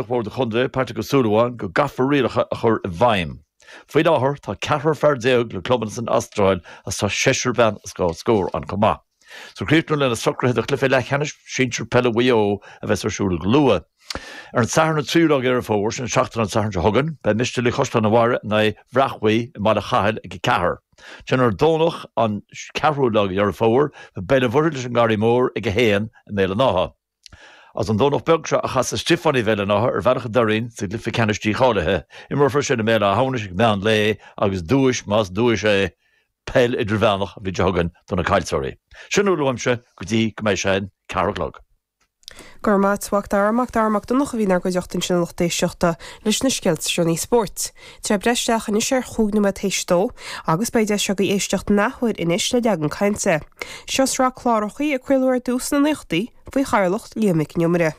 Bhord an Chontae, Patrick Ó Súilleabháin, go gcaithfear rialacha a chur i bhfeidhm. Faoi láthair, tá ceathrar fear le clubanna san Astráil agus tá seisear bean as dhá scór ann chomh maith. So críochnú le na socruithe do chluiche leathcheannais sinsir peile Mhaigh Eo a bheas ar siúl go luath. Ar an Satharn an 3ú lá de Dheireadh Fómhair, sin an seachtain an Satharn seo chugainn, beidh Mistéalaigh Chaisleán an Bharraigh in aghaidh Bhreac Bhuí i mBaile Chathail ag 4. Ansin ar an Domhnach an 4ú lá de Dheireadh Fómhair, beidh Béal an Mhuirthead leis an nGarraí Mór ag 1 i mBéal an Átha. Agus an Domhnach beag seo a chasfaidh Stiofánaigh Bhéal an Átha ar Bhealach an Doirín sa gcluiche ceannais dícháilithe. Imreofar sin i mBéal Átha hAmhnais ag meán lae agus duais, más duais é, peil idirmheánach an bhliain seo chugainn do na caillteoirí. Sin a bhfuil uaimse go dtí go mbeidh sé an ceathrú a chlog. Go raibh maith a't, a Mhac Dara. Mac Dara Mac Donncha a bhí inár gcuideachta ansin a lucht éisteachta leis na scéalta seo spóirt. Tá sé ag breith isteach anois ar chúig nóiméad théis a dó agus beidh deis agaibh éisteacht an athuair anois le Leagan Cainte. Seo sraith clárachaí a craoladh ar dtús sna naochadaí faoi chathaoirleacht Liam Mhic Con Iomaire.